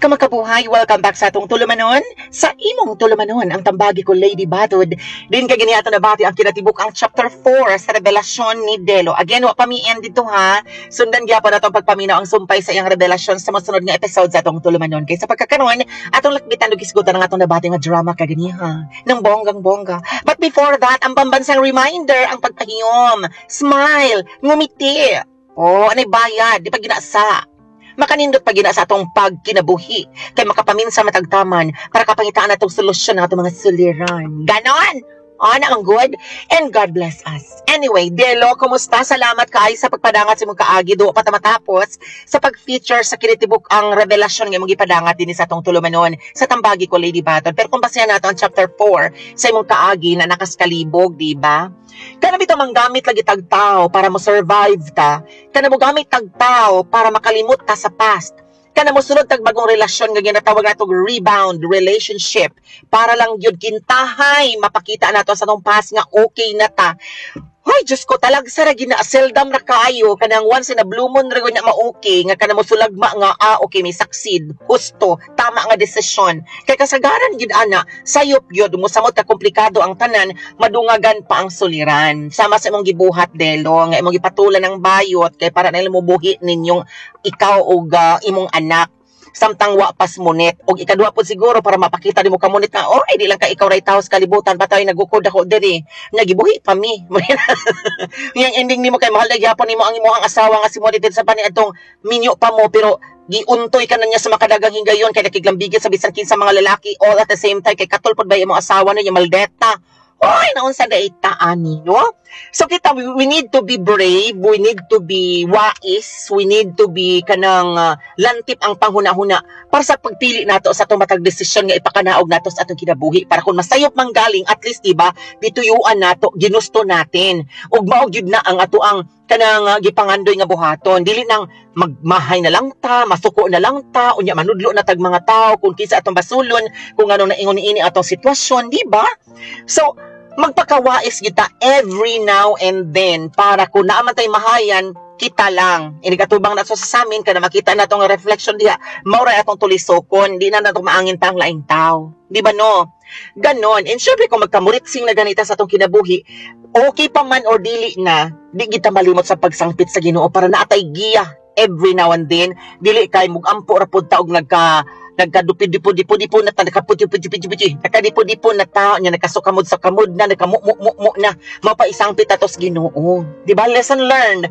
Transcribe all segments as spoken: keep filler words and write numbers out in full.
Kamakabuhay, welcome back sa atong tulumanon. Sa imong tulumanon, ang Tambagi Ko, Lady Batod. Din kay gani ato nabati ang kinatibuk ang chapter four sa revelasyon ni Delo. Again, wa pa mi end dito ha. Sundan gyapon nato ang pagpaminaw ang sumpay sa iyang revelasyon sa mosunod nga episode sa atong tulumanon. Kay sa pagkakaron, atong lakbitan ug hisgutan ang atong nabati nga drama kaganiha ng bonggang-bongga. But before that, ang pambansang reminder, ang pagpahiyom, smile, ngumiti. Oh, anay bayad, di pa ginasa makanindot pa gina sa atong pagkinabuhi kay makapaminsa matagtaman para kapangitaan natong solusyon ng atong mga suliran. Ganon! Ana ang good and God bless us. Anyway, Delo, kumusta? Salamat kay sa pagpadangat sa imong kaagi do pa ta matapos sa pag-feature sa kinitibuk ang revelasyon nga imong gipadangat dinhi sa atong tulumanon sa Tambagi Ko, Lady Batod. Pero kung basehan nato ang chapter four sa imong kaagi na nakaskalibog, di ba? Kana bitaw manggamit lagi tag tao para mo survive ta. Kana mo gamit tag tao para makalimot ta sa past. Kana mo sulod tag bagong relasyon nga ginatawag natong rebound relationship para lang gyud kintahay mapakita nato sa atong past nga okay na ta. Ay, Diyos ko, talagsa ra gina, seldom ra kaayo, kanang once in a blue moon ra gyud na ma-okay, nga kana mo sulagma nga, ah, okay, may succeed, husto, tama nga desisyon. Kay kasagaran gid ana, sayop gyud, musamot ka komplikado ang tanan, madungagan pa ang suliran. Sama sa imong gibuhat, Delo, nga imong gipatulan ng bayot, kay para na mo buhi ninyong ikaw og ah, imong anak samtang wa pas munit. Og ikaduha pod siguro para mapakita nimo kamunit nga oh ay di lang ka ikaw ray tawo sa kalibutan, patay nagukod ako diri, nagibuhi pa mi. Yang ending nimo kay mahal na gyapon nimo ang imong asawa nga si Monit sa pani atong minyo pa mo, pero giuntoy ka na niya sa makadagang higayon kay nakiglambigit sa bisan kinsa mga lalaki all at the same time, kay katol pod ba imong asawa niya maldeta. Oy, naunsa na ita ani, no? So kita, we, we need to be brave, we need to be wise, we need to be kanang uh, lantip ang panghuna-huna para sa pagpili nato sa atong matag desisyon nga ipakanaog nato sa atong kinabuhi para kung masayop man galing, at least, di ba, gituyuan nato, ginusto natin ug mao gyud na ang ato ang kanang uh, gipangandoy nga buhaton. Dili nang magmahay na lang ta, masuko na lang ta, unya manudlo na tag mga tao kung kinsa atong basulon kung ano na ingon niini atong sitwasyon, di ba? So magpakawais kita every now and then para kung naa man tay mahayan, kita lang. Inigatubang na sa samin kana makita na tong reflection diha, mao ra atong tulisokon, di na nato maangin pa ang laing tao. Di ba no? Ganon. And syempre kung magkamuritsing na ganita sa atong kinabuhi, okay pa man or dili na, di kita malimot sa pagsangpit sa Ginoo para naatay giya every now and then. Dili kay mugampo ra pud ta og nagka nagkadupi-dipo-dipo-dipo na ta, nagkaputi-puti-puti-puti, nagkadipo-dipo na tao niya, nagkasukamod sa kamod na, nagkamu-mu-mu na, mapaisangpit atos Ginoo. Di ba? Lesson learned.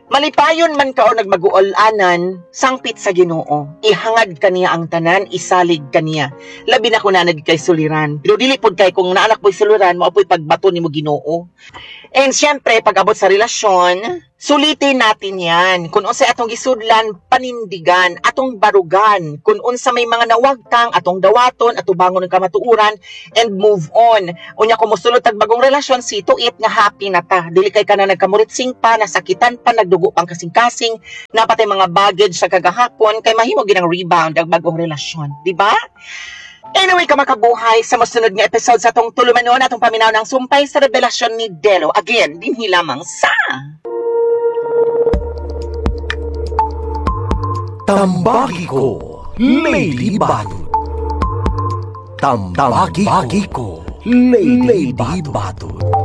Malipayon man ka o nagmaguol-anan, sangpit sa Ginoo. Ihangad kaniya ang tanan, isalig kaniya. Labi na kung nanag kay suliran. Pero dili pod kay kung naanak po'y suliran, mao po'y pagbato nimo Ginoo. And syempre, pag abot sa relasyon, sulitin natin yan. Kung unsa atong gisudlan, panindigan, atong barugan. Kung unsa may mga nawagtang, atong dawaton, atubangon ng kamatuoran, and move on. Unya kung mosulod tag bagong relasyon, see to it nga happy na ta. Dili kay ka na nagkamuritsing pa, nasakitan pa, nagdugo pang kasing-kasing, napatay mga baggage sa kagahapon, kay mahimo ginang rebound ang bagong relasyon. Di ba? Anyway, kamakabuhay, sa masunod nga episode sa atong tulumanon, atong paminaw ng sumpay sa revelasyon ni Delo. Again, dinhi lamang sa Tambagi Ko, Lady Batod. Tambagi Ko, Lady Batod.